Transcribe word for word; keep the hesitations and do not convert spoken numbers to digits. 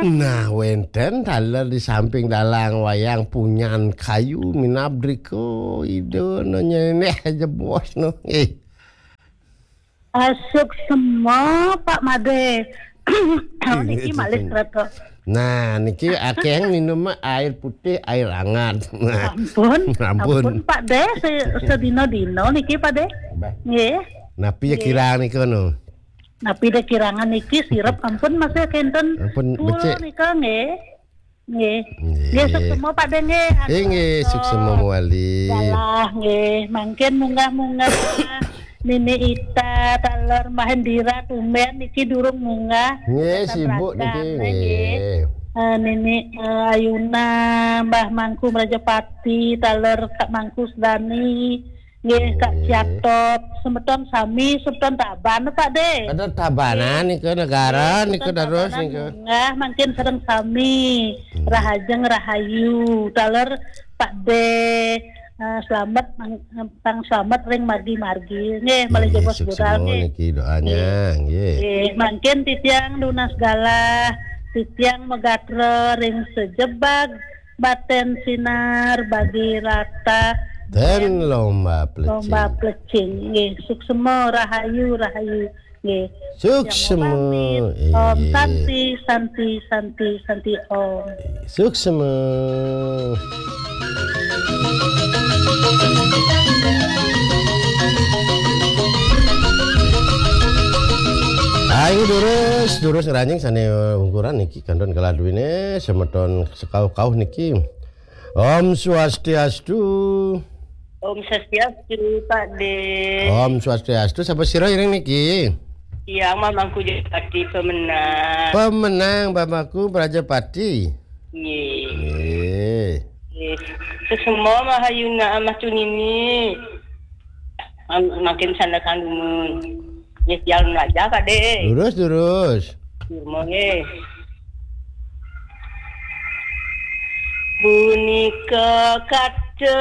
Nah, wénten taler di samping dalang wayang punyan kayu minab drika Ida nanya neh jebos no. Eh. Asuk semua Pak Made. Oh, niki malih kereta. Nah, niki akéh minum air putih, air hangat. Nah. Ampun, ampun. Ampun, Pak De, se-, sedina-dina niki, Pak De. Bah. Nggih. Napi ya kirang nika no? Napi de kirangan niki sirep ampun masih kenten. Ampun, becik. Nika nggih. Nggih. Nggih. Nggih, suksema Pak De nggih. Nggih, nggih, suksema mawali. Galah nggih, mangkin munggah-munggah. Nini Ita, taler Mbah Hendira tumben niki durung munggah. Nggih, sibuk niki, nggih. Eh, Nini, eh, Ayuna, Mbah Mangku Mrajapati, taler Kak Mangku Sedani, nggih, Kak Ciatop, semeton sami, semeton Taban, Pak De. Ada Tabanan nggih. Nika negara nggih, nika semeton terus Tabanan nika. Munggah, mangkin sareng sami. Hmm. Rahajeng rahayu, taler Pak De, eh, selamat mang-, pang selamat ring margi-margi. Nggih, malih jebos budal suksema nggih. Niki doanya, nggih. Nggih, mangkin titiang nunas galah, titiang magatra ring sejebag baten sinar bagi rata ten lomba plecing. Lomba plecing. Nggih, suksema rahayu, rahayu. Nggih. Suksema. Yang mau pamit. Om Santi, Santi, Santi, Santi Om. Suksema. Ah, ini durus, durus ngranjing sané ungkuran niki kantun kalah duwine semeton sekauh-kauh niki. Om Swastiastu. Om Swastiastu, Pak De. Om Swastiastu, sapa sira iring niki? Tiang Mamangku Jati pemenang. Pemenang Bamaku Prajapati. Nggih. Nggih. Nggih. Sesema mahayuna amah tunini. Am-, makin sana kandumun. Nggih, tiang belajar, Pak De. Durus, durus. Durus, nggih. Punika kata